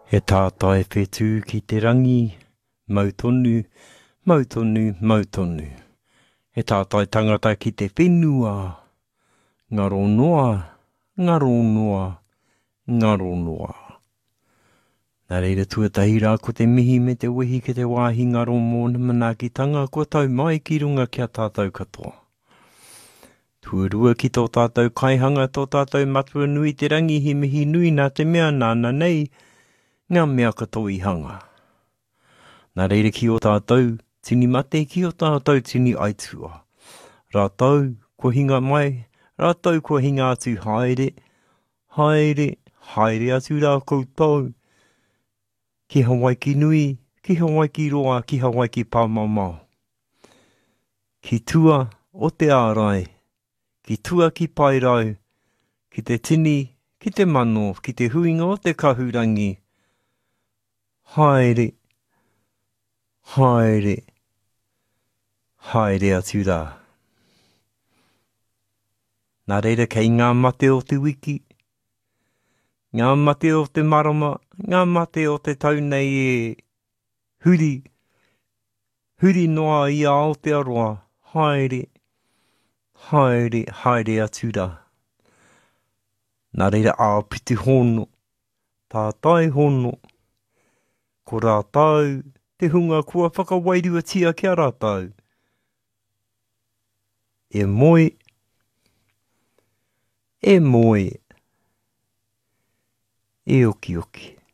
He tātai whetū ki te rangi, mau tonu, mau tonu, mau tonu. He tātai tangata ki te whenua, ngaro noa, ngaro noa, ngaro noa. Nā reira tuatahi rā ko te mihi me te wehi ki te wāhi ngaro mōna manaakitanga kua tau mai ki runga ki a tātou katoa. Tuarua ki tō tātou kaihanga, tō tātou Matua nui te rangi he mihi nui nā te mea nāna nei ngā mea katoa i hanga. Nā reira ki ō tātou tini mate, ki ō tātou tini aitua. Rātou kua hinga mai, rātou kua hinga atu haere, haere, haere atu rā koutou ki Hawaiki nui, ki Hawaiki roa, ki Hawaiki pāmamao. Ki tua o te ārai, ki tua ki Paerau, ki te tini, ki te mano, ki te huinga o te kahurangi, haere, haere, haere atu rā. Nā reira kei ngā mate o te wiki, ngā mate o te marama, ngā mate o te tau nei e huri, huri noa i a Aotearoa, haere, haere, haere atu rā. Nā reira āpiti hono, tātai hono, ko rātou te hunga kua whakawairuatia ki a rātou. E moe, e moe, e okioki.